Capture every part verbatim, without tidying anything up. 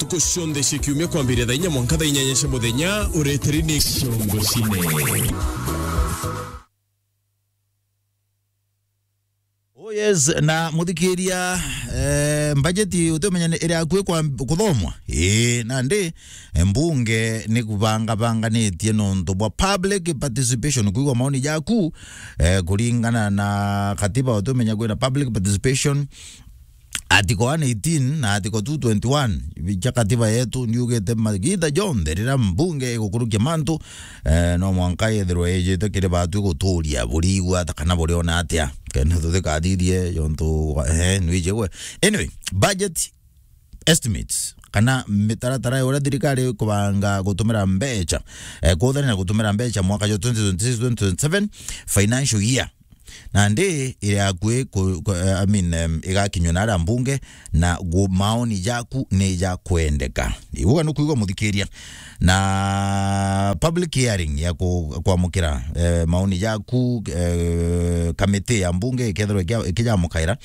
Ku cionthe cia kiumia kwambiria thaa inya mwanka thaa inyanya cia muthenya, ureteri ni Ciongo Cine. Oh yes, na muthikiria, eh, mbajeti utumenya ni iri akui kwa kuthomwa. Ii, nandi, eh, mbunge ni kubangabanganitie nontu bwa public participation, kuigwa maoni jaku, eh, kuringana na katiba utumenya kwina public participation, Article one eighteen na Article two twenty-one cia katiba yetu niugite magita jonthe riria mbunge igukurukia mantu, eh, no mwanka yethirwe ijite kiri batu iguturia burigwa ata kana buriona atia. Kenda tutikathithie jontu, eh, nwiji gwe. Anyway, budget estimates kana mitaratara ya uria thirikari ikubanga gutumira mbeca, eh, kuthania na gutumira mbeca mwaka jwa twenty twenty-six twenty twenty-seven financial year. Nandi iri akui ku, ku, eh, I mean, em, igakinywa na aria mbunge na gu, maoni jaku ni ja kwendeka. Ibuga nukuigwa muthikiria. Na public hearing ya ku, kwamukira, eh, maoni jaku, eh, kamiti ya mbunge ikethirwa ikia-, ikijamukaira.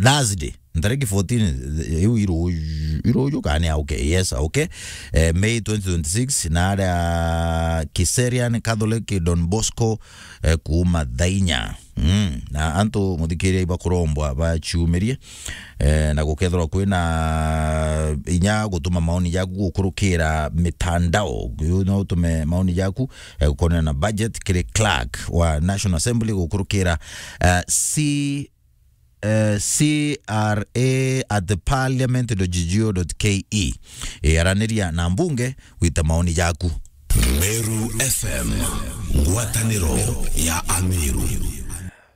Thursday, ntariki fourteen, iu iruju, iruju kana ni auke? Yes, auke. Eh, May twenty twenty-six, na aria Kiserian Catholic Don Bosco, eh, kuuma thaa inya. Mm. Na antu muthikiria ibakurombwa baciumirie, eh, na gukethirwa kwina inya gutuma maoni jaku gukurukira mitandao. Uyu no utume maoni jaku, eh, gukonana na budget kiri clerk wa National Assembly gukurukira, eh, C eh, C R A at parliament dot G O dot K E. Eh, araniria na mbunge gwita maoni jaku. Meru F M, ngwataniro ya Ameru.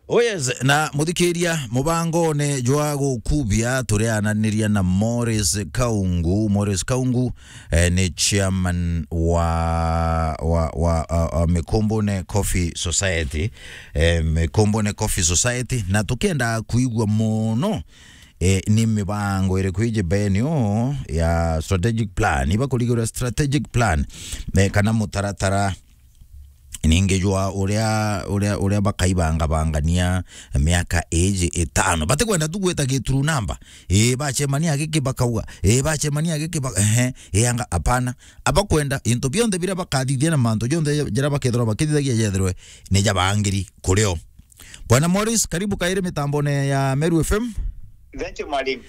Oh yes, na muthikiria, mubangone jwa gukubia, turiananiria na Morris Kaungu. Morris Kaungu, eh, ni chairman wa, wa, wa, uh, uh, Mikombone Coffee Society. Eh, Mikombone Coffee Society, na tukienda kuigua mono, eh, ni mibango iriku iji benio ya strategic plan, iba kurigirwa strategic plan, eh, kana mutaratara ningi jwa uria, uria, uria bakaibangabangania miaka iji itano. Batikwenda tu gwita gituru namba. Ii, bacemania giki bakauga, ii, bacemania giki ba-, ehe, ii, anga, apana. Abakwenda into bionthe biria bakathithia na mantu jonthe jaria bakethirwa bakithithagia jethirwe ni jabangiri kurio. Bwana Morris, karibu kairi mitambone ya Meru F M. Thank you, mwalimu.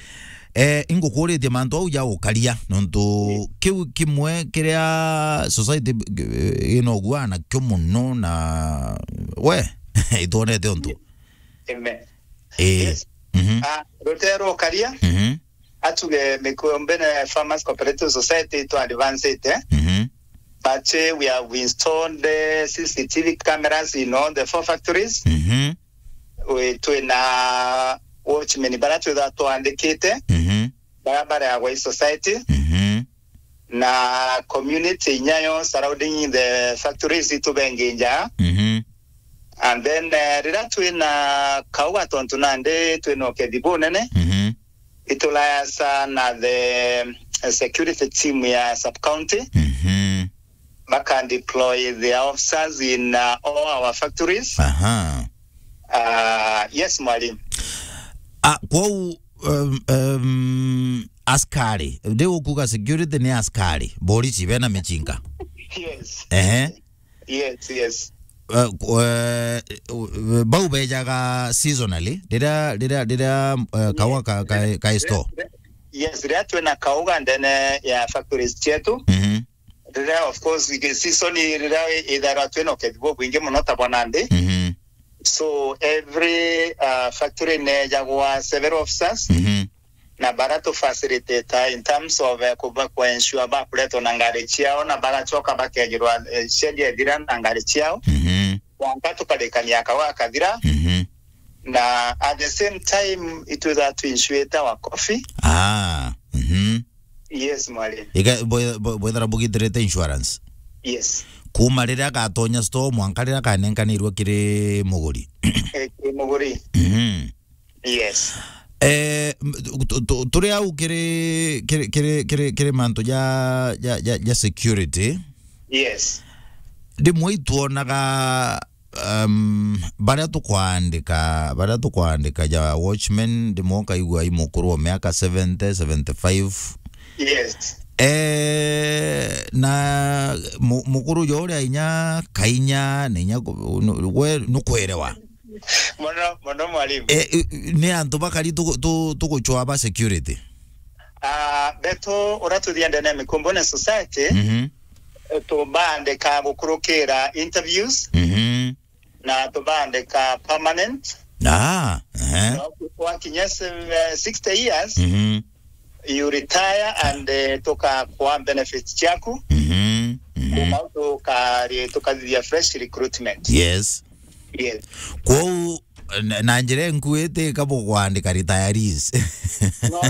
Eh, ingukuritie mantu au ja ukaria, nontu kiu kimwe kiria society, eh, inogua nakio muno na we, itwonete untu. Amen. Eh. Yes. Mhm. Ah, rutero ukaria. Mhm. Atuge Mikombene Farmers Cooperative Society to advance it, eh? Mhm. But, eh, we have installed, eh, C C T V cameras in all the four factories. Mhm. We, twina watchmen bara twitha twandikite. Mhm. Bara bareagwa i society. Mhm. Na community inya yo surrounding the factories itubengi nja. Mhm. And then, eh, riria twina kauga tontu nandi twina ukethi bunene, mhm, itulaya sana the, eh, security team ya sub county. Mhm. Baka deploy their officers in, uh, all our factories. Aha. Uh, yes, mwalimu. Ah, kwou, um, um, askari, ndi ukuga security ni askari, borisi bena michinga. Yes. Ehe. Yes, yes. Eh, ku-, eh, u-, bau bejaga seasonally, riria, riria, riria, eh, kaua ka, ka, ka store? Yes, riria twina kauga ndene ya factories cietu. Mhm. Riria, of course, ige-, season riria i-, ithairwa twina ukethi bubwingi muno ta bwa nandi. Mhm. So, every, uh, factory nejagwa several officers. Mhm. Na bara tu facilitate in terms of, eh, kuba, ku ensure bakuretwa na ngari ciao, na bagacoka bakejirwa, eh, schedule ethira na ngari ciao. Mhm. Mwanka tukarikania kauga kathira. Mhm. Na at the same time, itwitha tu insurate our coffee. Ah, mhm. Yes, mwalimu. Iga, bwe-, bwe-, bwethera bugitirite insurance? Yes. Kuma riria agatonya store, mwanka riria akanenkanirwe kiri muguri? Eh, kiri muguri. Mhm. Yes. Eh, m-, tu-, tu-, turi au kiri, kiri, kiri, kiri, kiri mantu ja, ja, ja, ja security. Yes. Rimwe itwonaga, um, baria tukwandika, baria tukwandika ja watchman, rimwe ukaigua i mukuru wa miaka seventy, seventy-five, Yes. Eh, na mu-, mukuru jo uria inya kainya na inya ku-, nu-, we nukwerewa. Mono, mono mwalimu. Eh, eh, ni antu bakari tu-, tu-, tuguchwa ba security? Ah, betu uria tuthii ndene ya Mikumbune Society, Mhm. tubandika gukurukira interviews Mhm. na tubandika permanent. Ah, ehe. Na wakinya se-, eh, sixty years, Mhm. you retire and, eh, tukakwa benefits ciaku. Mhm, mhm. Kuma tukari-, tukathithia fresh recruitment. Yes. Yes. Kwou, na, na njira nkuite kabo kwandika retirees. No.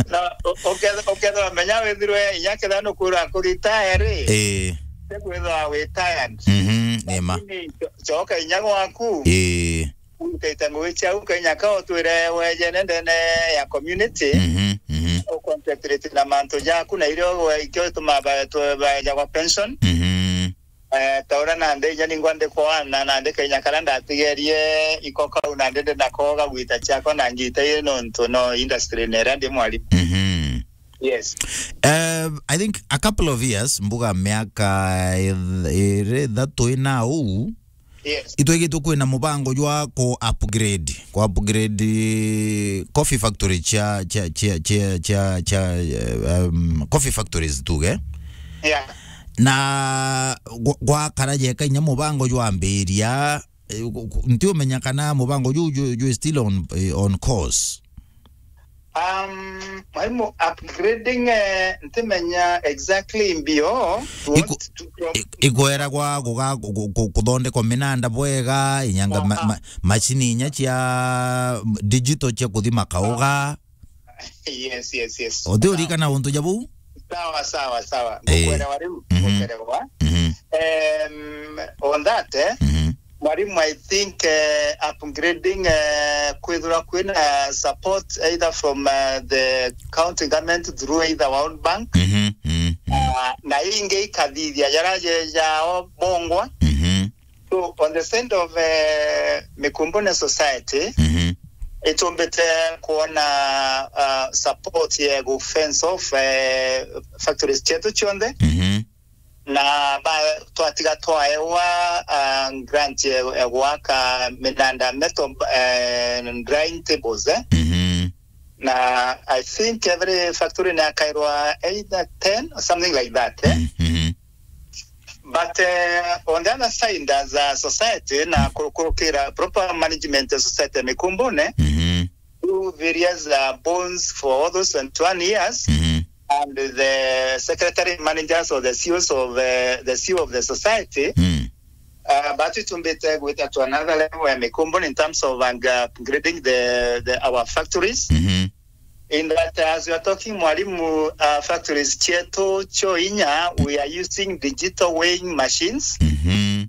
No, u-, uketha-, ukethirwa menya withirwe inya ketha nukwira ku retire ri. Eh. Tekwithwa wi tired. Mhm, ni ma. Lakini cho-, choka inya gwaku. Eh. Utete ngugi ciaku Kenya ka utwire wejene ndene ya community. Mhm, mhm. Uconcentrate na mantu jaku na irio we-, ikio ituma ba-, tu-, baeja kwa pension. Mhm. Eh, ta uria nandi inya ningwa ndikwana nandi Kenya karia ndatigerie iko kau nandi ndi nako gagwita ciakwa na ngita ii nontu no industry neria ndi mwalimu. Mhm. Yes. Eh, I think a couple of years, mbuga miaka iri ithatu ina uu, Yes. Itwigitwe kwina mubango jwa ku upgrade, ku upgrade coffee factory cia, cia, cia, cia, cia, cia, eh, um, coffee factories tuge. Yeah. Na gwa-, gwakara jeka inya mubango jwambiria, eh, gu-, gu-, ntiumenya kana mubango ju, ju, ju still on, eh, on course. Um, mwalimu, upgrading, eh, ntimenya exactly mbio. Iku-, what to, from i-, ikwera gwa kuga-, ku-, ku-, ku-, kuthondekwa minanda bwega, inyanga ma-, Aha. ma-, macini inya cia digital cia kuthima kauga. Yes, yes, yes. Uti urikana untu ja buu? Sawa, sawa, sawa. Eh. Ngukwelewa riu, Mhm. ngukwelewa. Mhm. Um, on that, eh, Mhm. Mwalimu, I think, eh, upgrading, eh, kwithirwa kwina support either from, eh, the county government through either World Bank, Mhm, mhm, mhm. Ah, na ingi ikathithia jara je jao bongwa. Mhm. So, on the side of, eh, Mikumbune Society, Mhm. itumbite kuona, ah, support ya gu fence off, eh, factories cietu cionthe. Mhm. Na ba-, twatiga twaewa, ah, grant ya, ya gwaka minanda metal, eh, drying tables, eh. Mhm. Na I think every factory ni akairwa either ten or something like that, eh. Mhm. But, eh, on the other side, as a society, na kurukurukira proper management ya society ya Mikumbune, Mhm. through various, uh, bonds for all those twenty-one years, Mhm. and the secretary managers or the C E Os of, uh, the C E O of the society, Mm. uh, but itumbite gwita to another level ya Mikumbune in terms of, uh, upgrading the, the, our factories. Mhm. In that, as we are talking, mwalimu, uh, factories cietu cio inya, we are using digital weighing machines. Mhm.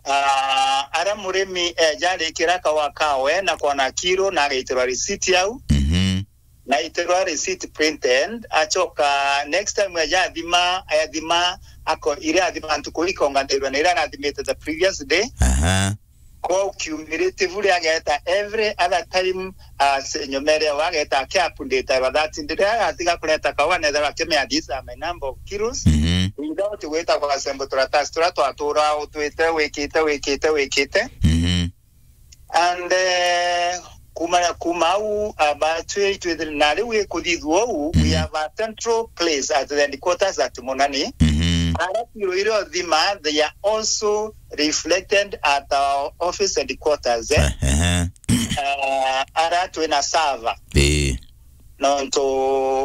Ah, aria murimi eja arikira kawa kawe na kwona kiro na agaitirwa receipt au. Mhm. Na aitirwa receipt printed, acoka next time eja athima, athima, ako-, iria athima ntuku ikonganirwe na iria arathimite the previous day. Aha. Kwa cumulatively ageta every other time, ah, se-, nyuma iria ageta aki update, that ndiria agatiga kureta kawa, nethera akimea, "These are my number of kilos." Mhm. Without gwita kwa sembo turatasi turia twatura utwite, wikite, wikite, wikite. Mhm. And, eh, kuma, kuma au, ah, batwi itwithire, na riu ikuthithua uu, we Mhm. have a central place at the headquarters at Munani. Mhm. Ara kiro iria uthima, they are also reflected at our office headquarters, eh. Eh, eh. Ah, ara twina server. Ii. Nontu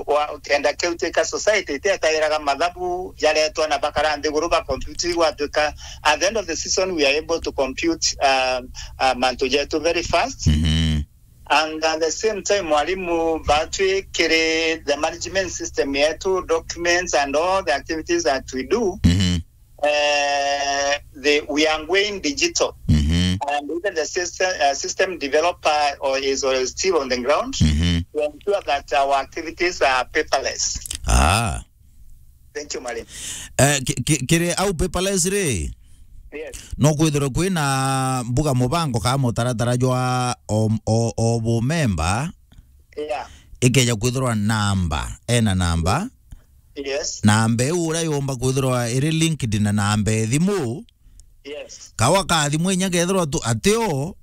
wa, kenda kiu twika society itietairaga mathabu jaretwa na bakara nthiguru ba compute, igwatwika at the end of the season we are able to compute, um, uh, mantu jetu very fast. Mhm. And at the same time, mwalimu, batwikire the management system yetu, documents and all the activities that we do, Mhm. eh, the, we are going digital. Mhm. And even the system, uh, system developer or is, or is still on the ground Mhm. to ensure that our activities are paperless. Ah. Thank you, mwalimu. Eh, ki-, ki-, kiri au paperless ri? Yes. No kwithirwe kwina mbuga mubango kana mutaratara jwa o, o, o bu member Yeah. Ikeja kwithirwa namba, ena namba. Yes. Namba iu uria yomba kwithirwa iri linked na namba e thimu. Yes. Kawa ka thimu inya kethirwa tu, atio.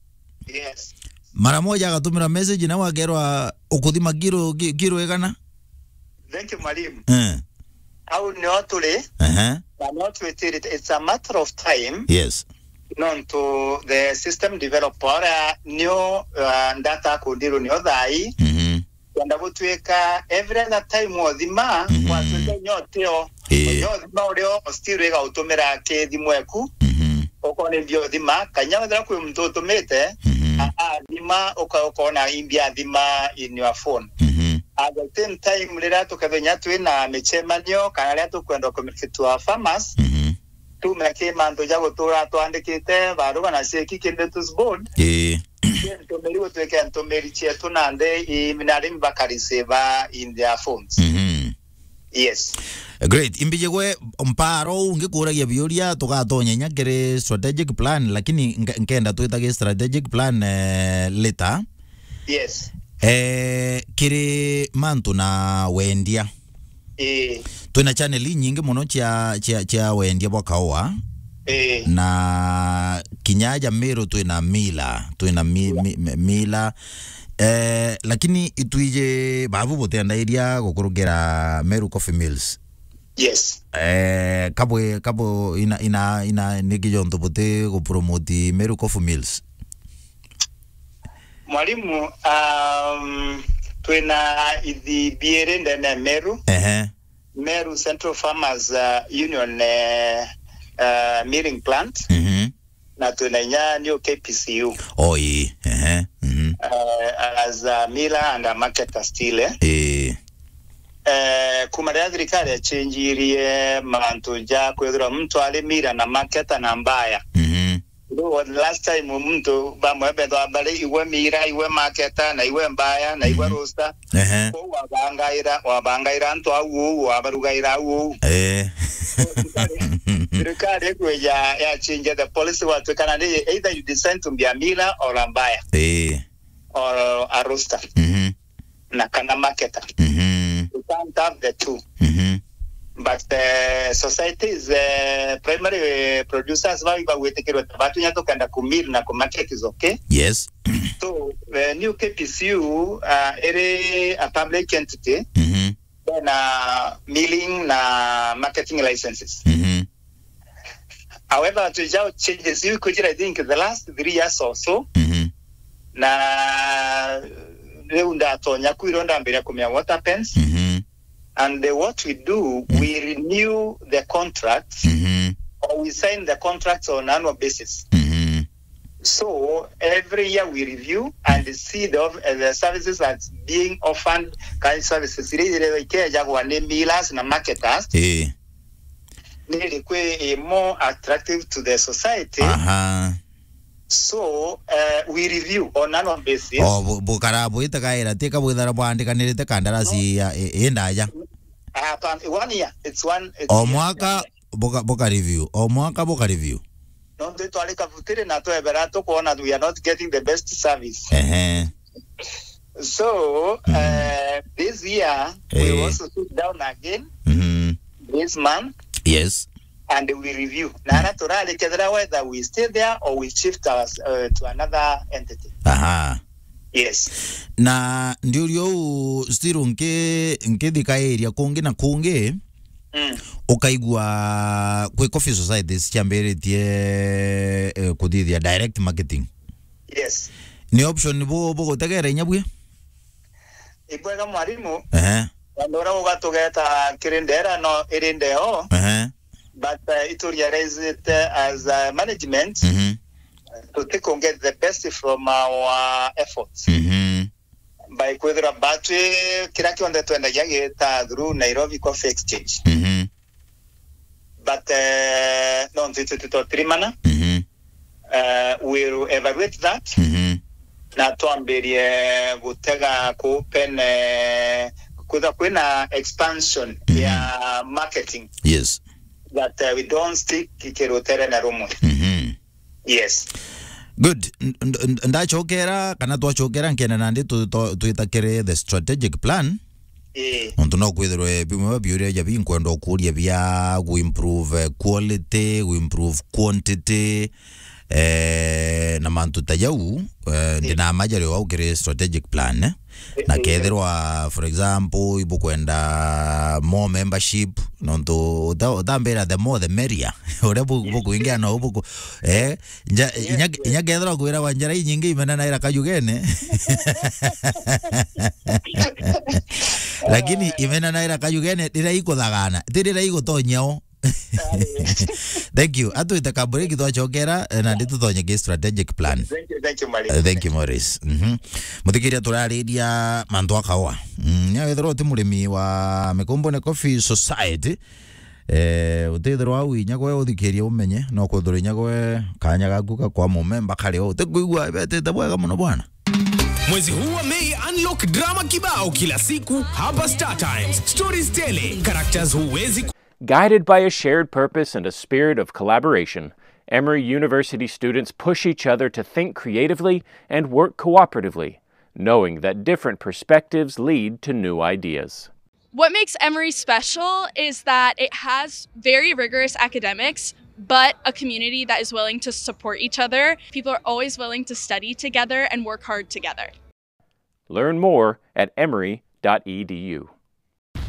Yes. Mara moja agatumira message na wakerwa ukuthima kiro, ki-, kiro igana. Thank you, mwalimu. Eh. Au nio turi. Ehe. Na no twitire, it's a matter of time. Yes. Nontu the system developer uria nio, uh, ndata akundirwo nio thai. Mhm. Kwenda gutwika every other time wothima, mhm, gwatwika inya utio. Ii. Inya uthima urio still igautumira ki thimu eku. Mhm. Ukona mbio thima, kanya wethira kwi muntu utumite, mhm, a-, athima, uka-, ukona imbi athima in your phone. Mhm. At the same time, riria tukethenya twina micemanio, kana riria tukwenda communicate to our farmers, mhm, tume ki mantu ja gutura twandikite baruga na cieki ki notice board. Ii. Ntumiri gutwike ntumiri cietu na nthi i-, na arimi bakareceive in their phones. Mhm. Yes. Great. Imbijigwe mparo uu ngikuragia biuria, tugatonya inya kiri strategic plan, lakini nge-, nkenda twita gi strategic plan, eh, later. Yes. Eh, kiri mantu na wendia. Ii. Twina channel inyingi mono cia, cia, cia wendia bwa kaua. Ii. Na kinya aja Meru twina mila, twina mi-, mi-, mi-, mila. Eh, lakini itwiji babu butendairia gukurukira Meru Coffee Mills. Yes. Eh, kabwe, kabwe ina, ina, ina, niki jontu buti gupromote Meru Coffee Mills? Mwalimu, um, twina ithi biiri ndene ya Meru. Ehe. Meru Central Farmers, uh, Union, eh, uh, milling plant. Mhm. Na twina inya new K P C U. Oh, ii. Ehe. Mhm. Uh, as a miller and a marketer still, eh? Ii. Eh, kuma riria thirikari yachenjirie mantu ja kwithirwa muntu ari miller na marketer na buyer. Mhm. Though last time muntu bamwe bethwa bari iwe miller, iwe marketer, na iwe buyer, na iwe, mhm, roaster. Ehe. Kwou wabangaira, wabangaira antu au uu, wabarugaira au uu. Eh. Thirikari, thirikari ikwija yachinja the policy, watwikana ni either you decide to be a miller or a buyer. Eh. Or a roaster. Mhm. Na kana marketer. Mhm. You can't have the two. Mhm. But, eh, societies, eh, primary producers bau ibagwitikirwe ta batunya tukenda ku mill na ku market is okay. Yes. So, eh, new K P C U, uh, iri a public entity, mhm, na milling na marketing licenses. Mhm. However, twija changes iu kwithira, I think, the last three years or so. Mhm. Na riu ndatonya kwiro ndambiria kumenya what happens. Mhm. And the, what we do, mm, we renew the contracts, mhm, or we sign the contracts on annual basis. Mhm. So every year we review and see the of-, uh, the services that's being offered, kind services iria iria ikejagwa ni millers na marketers. Eh. Ni iriku i more attractive to the society. Aha. So, uh, we review on annual basis. O, bu-, bukara bwitagaira, tika bwithara bwandikanirite kandarasi ya, i, i ndaja. Hapana, one year. It's one, it's o year, mwaka, yeah, buka, buka review. O mwaka buka review. Nontu itwarika butiri na twebera tukwona we are not getting the best service. Ehe. So, mm, uh, this year, we, eh, also sit down again, mhm, this month, yes, and we review. Na ara turari kethira whether we stay there or we shift our, uh, to another entity. Aha. Yes. Na ndiuria uu still nki-, nkithikairia kungi na kungi, mm, ukaigua kwi coffee societies ciambiritie, eh, kuthithia direct marketing. Yes. Ni option bu-, bugutegera inya bwi? Ibwega mwarimu. Ehe. Andu uria ugatugeta kiri ndera no iri ndeo. Ehe. But, uh, itu realize it, uh, as, uh, management, mhm, tutikun get the best from our efforts. Mhm. By kwithira batwi kira kionthe twendagia gita through Nairobi Coffee Exchange. Mhm. But, eh, nontu itwi titotirimana, mhm, eh, we'll evaluate that, mhm, na twambirie gutega ku open, eh, kwitha kwina expansion, mhm, ya marketing. Yes. That, eh, we don't stick kirutere na rumwe. Mhm. Yes. Good. N-, n-, n-, ndachokera kana twachokera, nkenda nandi tu-, tu-, twitakire the strategic plan. Ii. Nontu no kwithirwe bimwe bia biuria ja binkwenda ukuria bia gu improve, eh, quality, gu improve quantity, eh, na mantu ta jau, eh, ndina majario au kiri strategic plan, eh. Na kethirwa, for example, ibukwenda more membership, nontu uta-, utambira the more the merrier. Uria bu-, bukuingia no buku-, eh, nja-, inya, inya kethirwa kwiragwa njara inyingi imenanaira kajugene. Lakini imenanaira kajugene riria ikuthagana, ti riria igutonyao. Thank you. Atwite ka break twachokera, eh, na ndi tutonye ki strategic plan. Thank you, thank you, Mari. Eh, thank you, Morris. Mhm. Muthikiria turariria mantu akawa. Mm, nya wethirwa uti murimi wa Mikombone Coffee Society, eh, utithirwa au inya gwe uthikirie umenye, no kwithirwa inya gwe kanya gaku ga kwa mumemba kari o. Utikwigua betete bwega muno bwana. Mwezi huu wa Mei, unlock drama kibao kila siku hapa Star Times. Stories tele, characters huwezi ku- Guided by a shared purpose and a spirit of collaboration, Emory University students push each other to think creatively and work cooperatively, knowing that different perspectives lead to new ideas. What makes Emory special is that it has very rigorous academics, but a community that is willing to support each other. People are always willing to study together and work hard together. Learn more at emory dot e d u.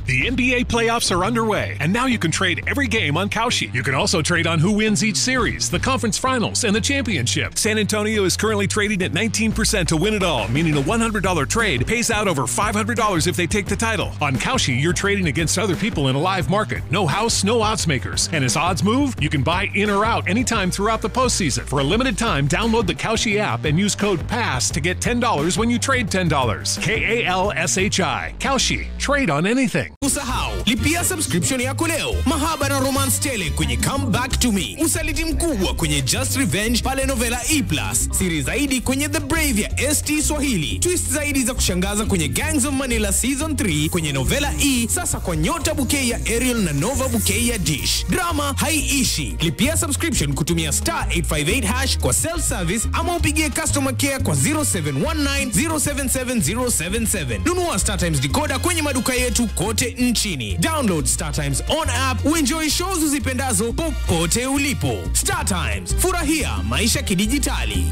The N B A playoffs are underway, and now you can trade every game on Kalshi. You can also trade on who wins each series, the conference finals, and the championship. San Antonio is currently trading at nineteen percent to win it all, meaning a one hundred dollar trade pays out over five hundred dollars if they take the title. On Kalshi, you're trading against other people in a live market. No house, no odds makers. And as odds move, you can buy in or out anytime throughout the postseason. For a limited time, download the Kalshi app and use code pass to get ten dollars when you trade ten dollars. K A L S H I. Kalshi. Trade on anything. Usisahau, lipia subscription yako leo. Mahaba na romance tele kwenye Come Back to Me. Usaliti mkubwa kwenye Just Revenge pale Novela E plus. Siri zaidi kwenye The Brave ya S T Swahili. Twist zaidi za kushangaza kwenye Gangs of Manila Season three kwenye Novela E, sasa kwa Nyota Bouquet ya Aerial na Nova Bouquet ya Dish. Drama haiishi. Lipia subscription kutumia star eight five eight hash kwa self service ama upigie customer care kwa zero seven one nine zero seven seven zero seven seven. Nunua Star Times decoder kwenye maduka yetu kote nchini. Download Star Times on app, uenjoy shows uzipendazo popote ulipo. Star Times, furahia maisha kidijitali.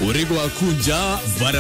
Uri gwaku nja, bara